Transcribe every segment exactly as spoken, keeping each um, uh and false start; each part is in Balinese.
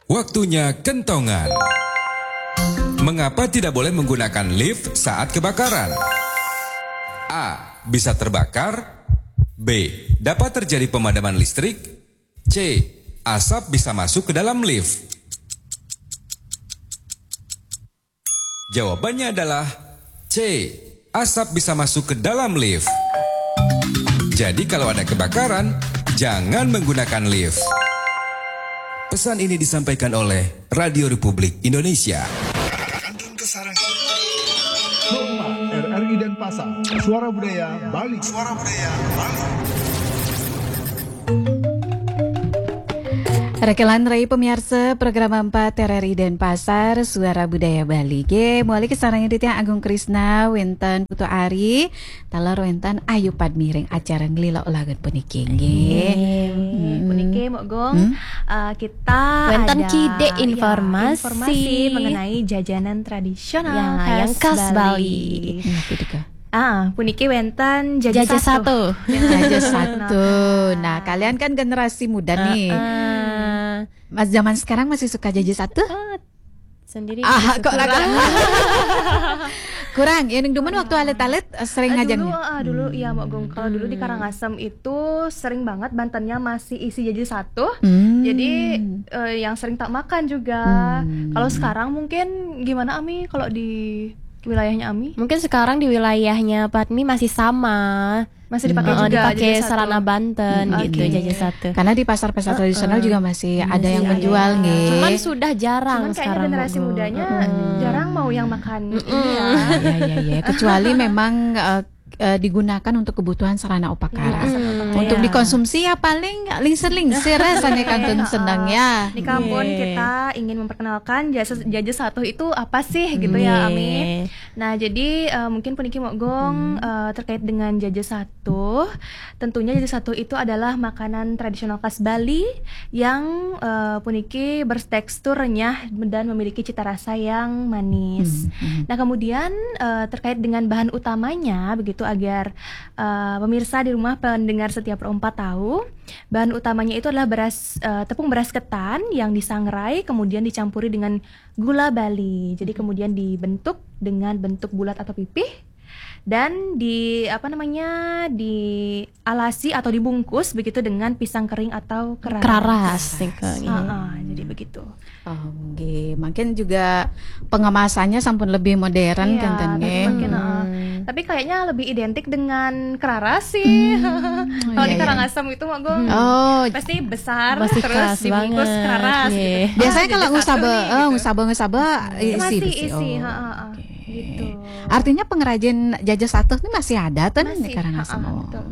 Waktunya kentongan. Mengapa tidak boleh menggunakan lift saat kebakaran? A. Bisa terbakar. B. Dapat terjadi pemadaman listrik. C. Asap bisa masuk ke dalam lift. Jawabannya adalah C. Asap bisa masuk ke dalam lift. Jadi kalau ada kebakaran, jangan menggunakan lift. Pesan ini disampaikan oleh Radio Republik Indonesia. Kantun Kesarangan. Rumah R R I Denpasar. Suara Budaya Bali. Suara Budaya Bali. Rekelan rai pemiarsa program empat R R I Denpasar, Suara Budaya Bali. Ge, muali kasarengin titiang Agung Krisna, wenten Putu Ari, taler wenten Ayu Padmi ring acara Ngelila Olahan puniki, nggih. Nggih. Hmm. Puniki, Mbok Gung, Hmm? eh, kita Wenten ada, kidik ya, informasi. Informasi mengenai jajanan tradisional Ya, khas yang khas Bali. Bali. Napa tuh, Kak? Ah, puniki wenten jaja Jaja satu. Satu. Jaja satu. Nah, kalian kan generasi muda nih. Heeh. Mas, zaman sekarang masih suka jaja satu? Oh, sendiri Ah, masih kok suka. Ragu? Kurang, ya, ning dumun waktu alit-alit, eh, sering Ah, ngajeng dulu, ya? Ah, dulu, iya, Mbok Gung. Kalau dulu di Hmm. Karangasem itu sering banget bantennya masih isi jaja satu. Hmm. Jadi, eh, yang sering tak makan juga. Hmm. Kalau sekarang mungkin gimana, Ami, kalau di wilayahnya Ami? Mungkin sekarang di wilayahnya Padmi masih sama. Masih dipakai Heeh, juga dipakai jaja satu. Sarana banten Hmm, gitu, oke. Jaja satu. Karena di pasar-pasar Heeh. tradisional juga masih ada Masih yang ada. menjual, nggih. Cuman sudah jarang Cuman kayaknya sekarang, generasi Bu. mudanya Mm-mm. jarang mau yang makan Mm-mm. ini ya. Ya, ya, ya, ya. Kecuali memang, eh, eh, digunakan untuk kebutuhan sarana upakara. Mm-mm. Untuk Iya. dikonsumsi ya paling lingsir-lingsir ya, sange kantun Heeh. seneng ya. Nika pun Nggih. kita ingin memperkenalkan jaja, jaja satu itu apa sih gitu ya, Ami? Nggih. Nah, jadi, eh, mungkin puniki Mbok Gung, Hmm. eh, terkait dengan jaja satu. Tentunya jaja satu itu adalah makanan tradisional khas Bali yang, eh, puniki bertekstur renyah dan memiliki cita rasa yang manis. Hmm, hmm. Nah, kemudian, eh, terkait dengan bahan utamanya, begitu agar, eh, pemirsa di rumah, pendengar setia Pro empat tahu, bahan utamanya itu adalah beras, eh, tepung beras ketan yang disangrai, kemudian dicampuri dengan gula Bali. Jadi, Hmm. kemudian dibentuk dengan bentuk bulat atau pipih dan di, apa namanya, dialasi atau dibungkus begitu dengan pisang kering atau keras. Keras, gitu. Heeh, jadi begitu. Oh, nggih. Mungkin juga pengemasannya sampun lebih modern, Iya, kan, ten, tapi nggih? mungkin, heeh. Hmm. Tapi kayaknya lebih identik dengan keraras sih. Hmm, Kalau iya, di iya. Karangasem itu, Mbok Gung, Oh, pasti besar, masih terus khas dibungkus banget. Keraras, Nggih. gitu. Biasanya Ah, kalau jadi satu ngusaba, nih, eh, gitu. ngusaba, ngusaba, isi, Masih isi, isi, oh, heeh, heeh. Oke. Gitu. Artinya pengrajin jaja satu ini masih ada, ten, Masih, di Karangasem? Heeh, oh. Betul.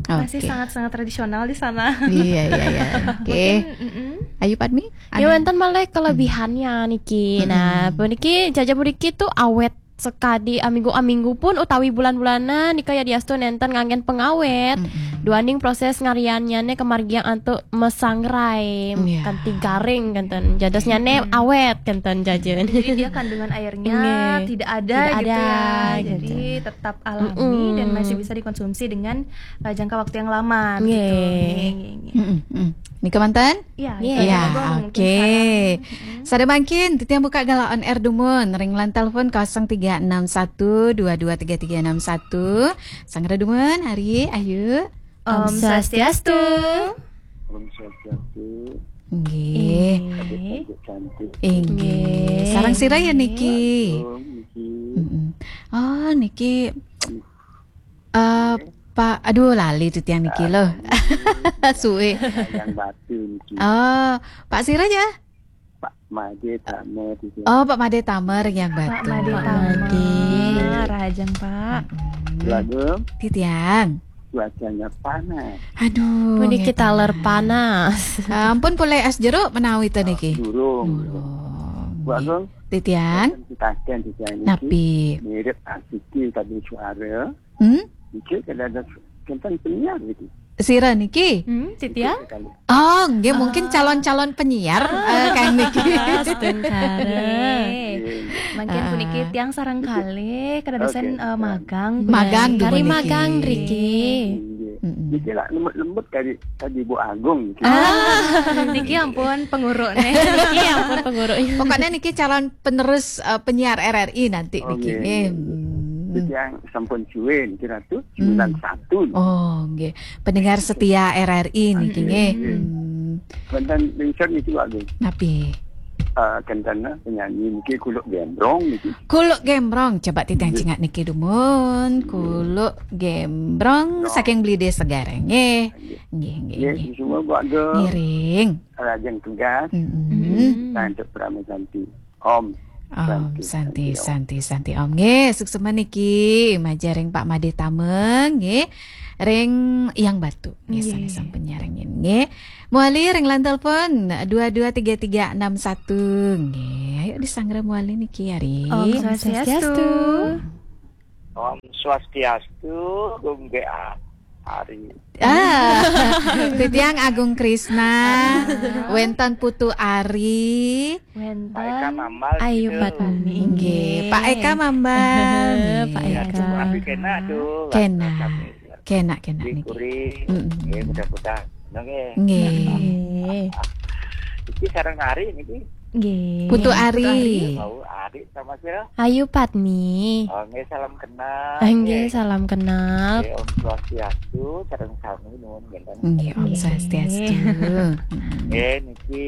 Masih Oke. sangat-sangat tradisional di sana. Iya, iya, iya. Oke. Mungkin, mm-mm. Ayu Padmi, ya, ada? Wenten malih kelebihannya niki. Hmm. Nah, puniki jaja puniki tuh awet sekadi aminggu-aminggu pun utawi bulan-bulanan nika yadiastu nenten nganggen pengawet. Mm-mm. Duaning proses ngariannyane kemargiang antuk mesangrai Iya. kanthi garing kenten. Jadosnyane Mm-mm. awet kenten jajan. Jadi dia kandungan airnya Nggih. tidak ada Tidak gitu ada, ya. gitu. Jadi tetap alami Mm-mm. dan masih bisa dikonsumsi dengan, eh, jangka waktu yang lama gitu. Nggih. Nggih, nggih, nggih. Mm-mm, mm. Nika manten? Iya, Iya. itu Ya, juga mungkin oke. sekarang. Mm-mm. Sada mangkin, titiang buka galah on air dumun, ring line telepon kosong tiga enam satu dua dua tiga tiga enam satu. Sanggra dumun, Ari, Ayu. Om Om Swastiastu. Swastiastu. Om Swastiastu. Nggih. Nggih. Adik-adik cantik. Inggih. Nggih. Sareng sira ya niki? Assalamualaikum, niki. Mm-mm. Oh, niki, eh, Pak, aduh, lali titiang niki loh. Suwe. Yang batu niki. Oh, Pak sira ya? Pak Made Tamer di sini. Oh, Pak Made Tamer yang Pak batu. Made Pak Tamer. Made. Rahajeng, Pak. Mm-mm. Lagu Titiang. Cuacanya panas. Aduh, Puniki nggih taler panas. panas. Ah, ampun pulih es jeruk menawi ten niki? Durung. Durung. Bu Agung, Titiang. Kita akan, Titiang niki Napi? Mirip asiki tadi suara. Hmm? Niki kada ada kenten penyiar niki. Sira niki? Hmm, Titiang? Niki sekali. Oh, nggih, mungkin Ah. calon-calon penyiar, Ah. eh, kang niki. Astungkara. Nggih. Nggih. Mangkin Ah. puniki tiang sareng kalih, kadadosan, Oke, eh, siap. magang. Magang Kari dumun niki. magang riki. Nggih. Mm-mm. Niki lah lembut-lembut kadi, kadi Bu Agung niki. Ah, niki ampun penguruk nih. Niki ampun penguruk. Pokoknya niki calon penerus, eh, penyiar R R I nanti. Oh, niki, nggih, nggih. Hmm. Titiang sampun suwe niki Ratu, hmm, sembilan satu. Oh, nggih. Pendengar setia R R I niki, nggih, nggih. Hmm. Wonten lingsir niki, Bu Agung. Napi? Eh, kenten, eh, penyanyi niki Kuluk Gembrong niki. Kuluk Gembrong, coba titiang, nggih, cingak niki dumun. Nggih. Kuluk Gembrong, Gembrong. Saking Belide Segara, nggih. Nggih. Nggih, nggih, nggih, nggih. Semua Bu Agung. Ngiring. Lajeng tugas. Mm-mm. Mm-mm. Lanjut Pramé Santi. Om. Om Santi, Santi, Santi, Om. Santi, Santi, Om. Nggih, suksma niki majeng ring Pak Made Tama, nggih. Ring Yang Batu, nggih, nggih, sané sampun nyarengin, nggih. Mawali ring line telepon dua dua tiga tiga enam satu, nggih. Ayo disanggra mawali niki, Ari. Om Swastiastu. Om Swastiastu, Gung G A. Ari. Ah, titiang Agung Krisna, ah, wénten Putu Ari. Wénten Pak Eka Mambal Ayu gitu. Padmi. Nggih, Pak Eka Mambal. Pak Eka. Ya, Eka. Tapi kena tuh, lah, kena. Kami. Kena, kena niki. Dikuri. Mm-mm. Nggih, mudah-mudahan. Nggih. Nggih. Iki sareng Ari niki. Nggih. Putu Ari. Mau Ari sama sira? Ayu Padmi. Oh, nggih, salam kenal. Ah, nggih, nggih, salam kenal. Nggih, Om Swastiastu, sareng sami nuwun ngenten. Nggih, Om Swastiastu. Nggih. Nggih, niki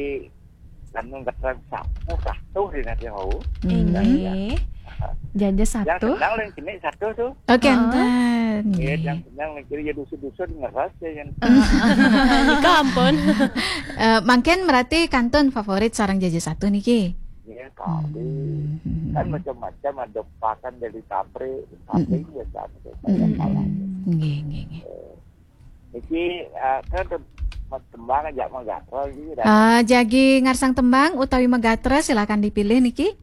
kan ngetrek sapu katuh di nanti mau. Hmm. Nggih. Jaja satu. Yang kenal yang kene satu tuh. Oh, kenten. Nggih, nggih, yang kenal yang kiri ya dusun-dusun ngeras ya yang. Nika ampun. Eh, mangkin berarti kantun favorit sareng Jaja Satu niki. Iya, kali. Hmm. Kan macam-macam, ada pakan dari tapri, tapri, hmm, ya kan, kayak, hmm, kayak, hmm, salah. Nggih, nggih, nggih. Eh, iki, eh, kan tem-, tembang aja magatra iki, dah. Ah, jagi ngarsang tembang utawi magatra, silakan dipilih niki.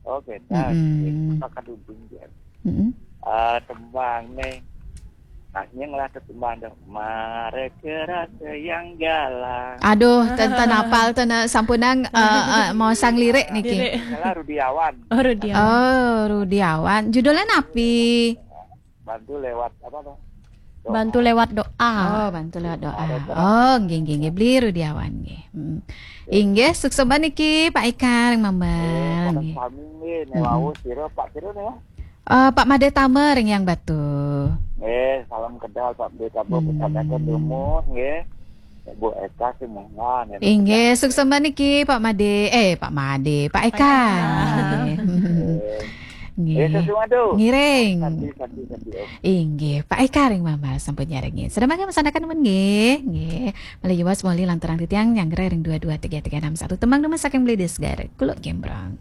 Oke, dah. Mm-mm. Iki pakan dudung, ya. Mm-mm. Eh, tembang nih. Nah, ini ngelah tembang dong. Mareke rasa yang galang. Aduh, ten, ten apal, ten, eh, sampunang, eh, eh, mau sang lirik niki. Lirik. Salah Rudiawan. Oh, Rudiawan. Oh, Rudiawan. Judulnya napi? Bantu lewat apa tuh? Doa. Bantu lewat doa. Oh, bantu lewat doa. Ada doa. Oh, nggih, nggih, nggih. Beli Rudiawan nggih. Hmm. Inggih, suksma niki Pak Eka ring Mambal, eh, nggih. Sami nggih, nek, mm-mm, wau sira Pak sira nih. Eh, Pak Made Tama ring Yang Batu. Nggih, salam kenal Pak Made Tama, hmm, pesanaken rumus nggih. Bu Eka sing mungan, ya. Inggih, suksma niki Pak Made, eh, Pak Made, Pak Eka. Pak Eka. Nggih. Nggih. Eh, sesuatu. Ngiring. Santi, santi, santi, Om. Inggih, Pak Eka ring Mambal sampun nyarengin. Sedaya mangkin masanaken nuwun nggih. Nggih. Malih yuwas mawali lanturang titiang nyanggra ring dua dua tiga tiga enam satu. Tembang dumun saking Belide Segara, Kuluk Gembrong.